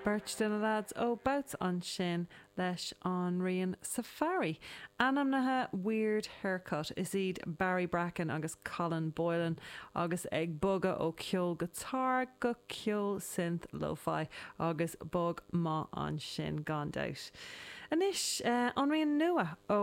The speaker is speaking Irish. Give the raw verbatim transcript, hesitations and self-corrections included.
Beirt de na lads ó Bouts ansin leis an rian Safari. Ainmnithe Weird Haircut is iad Barry Bracken agus Colin Boylan agus ag bogadh ó ceol guitar go ceol synth lo-fi agus bog maith ansin gan dabht. Anois uh, an rian nua ó